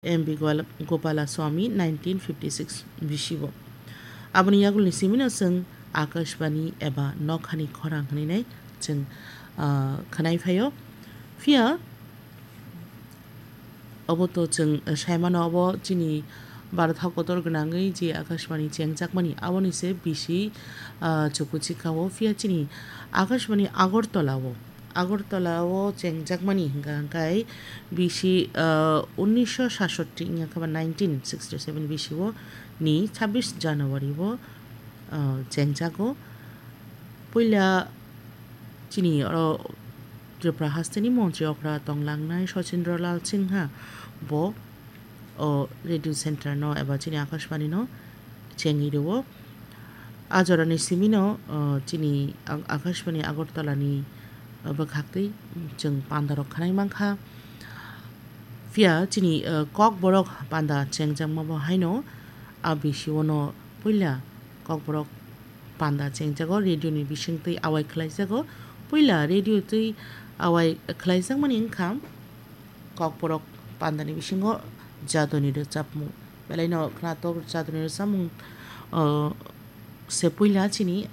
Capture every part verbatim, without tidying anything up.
M B Gopala-, Gopalaswamy nineteen fifty six bisi bo. Aboni yagulni simino chwng Akashbani eba nokhani khorang hwnwi nai chwng, ah, khwnai phaio. Phiya obo to chwng, eh, saimano, obo chini Bharat ha kotor gwnangwi je Akashbani chengjakmani, aboni se bisi, ah, chukuchika o. Phiya chini Akashbani Agartala o, Agartala o chengjakmani hwnkha hwnkhe bisi, ah, unnisho sashotti wngya khe ba nineteen sixty seven bisi o ni chabbish January o, ah, chengjago. Puila chini oro Tripura hasteni montri okra tonglangnai Sachindra Lal Singha bo o radio center no eba chini Akashbani no chengwi rwo. A jorani simino, o, chini Ak-, Akashbani Agartala ni, o, bwkhaktwi chwng panda rok khwnai mankha. Phiya chini, o, Kokborok panda chengjakma bo haino a bisi o no puila Kokborok panda chengjago, radio ni bisingtwi awai khlaijago. Puila radio twi awai khlaijakmani wngkha Kokborok pandani bisingo jadoni rwchapmung. Belaino khwnatok jadoni rwchapmung, o, se puila chini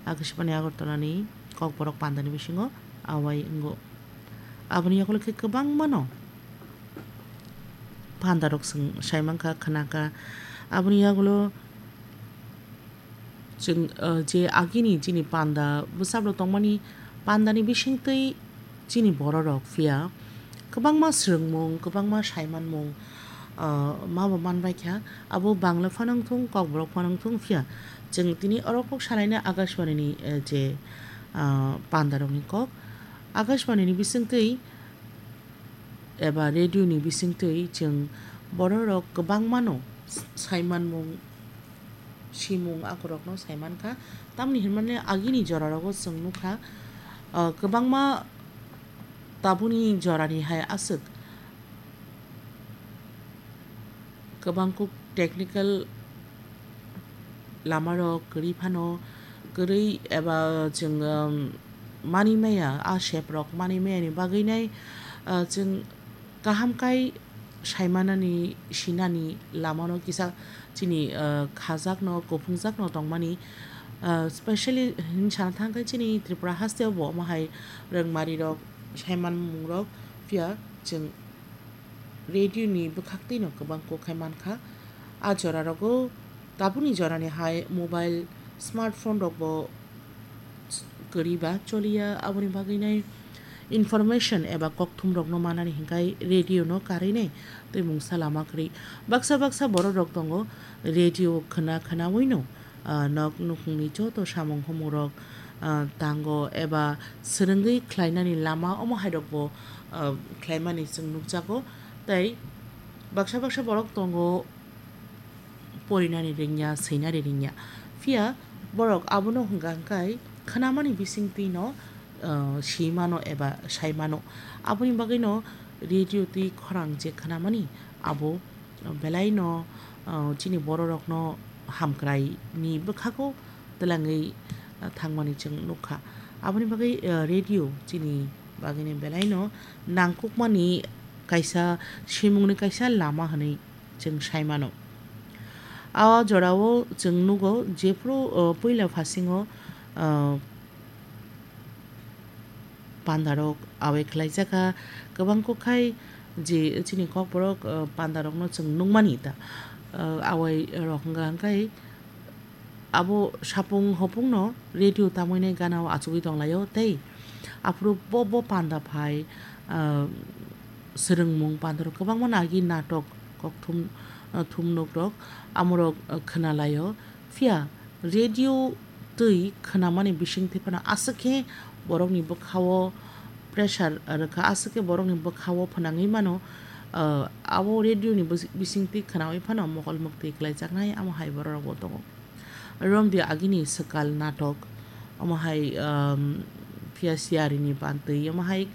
Akashbani Agartala ni Kokborok pandani bisingo awai wngo. Aboni yagulo khe kwbangmano pandarok chwng saimankha, khwnakha. Aboni yagulo chwng, ah, je agini chini panda bwsarok tongmani, pandani bisingtwi chini bororok phiya kwbangma swrwngmung, kwbangma saimanmung, ah, mabo manbaikha. Abo Bangla phano wngthung, Kokborok phano wngthung, phiya chwng tini oro kok salaina Akashbani ni, eh, je, ah, pandarokni kok. Akashbani ni bisingtwi eba radio ni bisingtwi chwng bororok kwbangmano saimanmung, simung akorokno saimankha. Tamni hinmani agini jorarogo chwng nukha, ah, kwbangma tabukni jorani hai aswk kwbangkuk technical lamarok kwrwi phano kwrwi eba chwng, um, manwi maya, a seprok manwi mayani bagwinai, ah, chwng kaham kai saimanani, sinani lamano kisa chini, ah, khajakno, kuphungjakno tongmani, ah, specially hin sana thangkhe chini Tripura hasteo bo omo hai rwngmarirok, saimanmungrok phiya chwng radio ni bwkhaktwino kwbang kok khai mankha. A jorarogo tabukni jorani hai mobile, smartphone rokbo kwrwi ba choliya, aboni bagwinai information eba kokthumrokno manani hinkhai radio no karwinai twi mungsa lama kwrwi. Baksa baksa bororok tongo radio khwna khwnawino, ah, nok nukhungni joto samung humung rok, ah, tango eba swrwngwi khlainani lama omo hai rokbo, ah, khlaimani chwng nukjago. Tei baksa baksa borok tongo porinani rwngya, swinani rwngya. Phiya borok abono hwnkha hwnkhe khwnamani bisingtwino, ah, swimano eba saimano. Aboni bagwino radio twi khorang je khwnamani abo belaino, ah, chini bororokno hamkraini bwkhago twlangwi, ah, thangmani chwng nukha. Aboni bagwi, ah, radio chini bagwini belaino nangkukmani kaisa, simungni kaisa lama hwnwi chwng saimano. A jorao chwng nugo jephru, ah, puila phasingo, ah, pandarok awai khlaijak kha, kwbang kok khai je chini kokborok, ah, pandarokno chwng nukmani ta, ah, awai rok hwnkha hwnkhe abo sapung hopungno radio tamwinai ganao achugwi tonglaio tei aphuru bo, bo panda phai, ah, swrwngmung pandarok kwbangma nagi natok kokthum, ah, thumnokrok amorok, ah, khwnalaio. Phiya radio twi khwnamani bisingtwi phano aswk khe borokni bwkhao pressure rwkha, aswk khe borokni bwkhao phwnangwi mano. Ah, abo radio ni bwsi-, bisingtwi khwnawi phano mokol muktwi kwlaijaknai, amo hai bororokbo tongo. Romdi agini swkal natok, omo hai, um, phiya siyarini bantwi, omo hai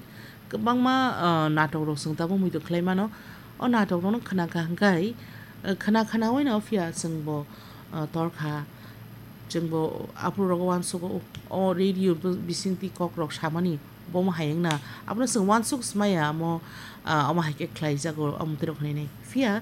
kwbangma, uh, natok rok chwng tabuk muitu khlai mano. O natok rokno khna kha hwnkhe, uh, khna khnaui no phiya chwngbo, uh, torkha. Chwngbo aphuru rogo uansugo, o radio bo-, bisingtwi kok rok samani bomo hai wngna. Abono chwng uansuk smaya, amo, uh, omo hai khe khlai jago, omo twi rok hinui nai. Phiya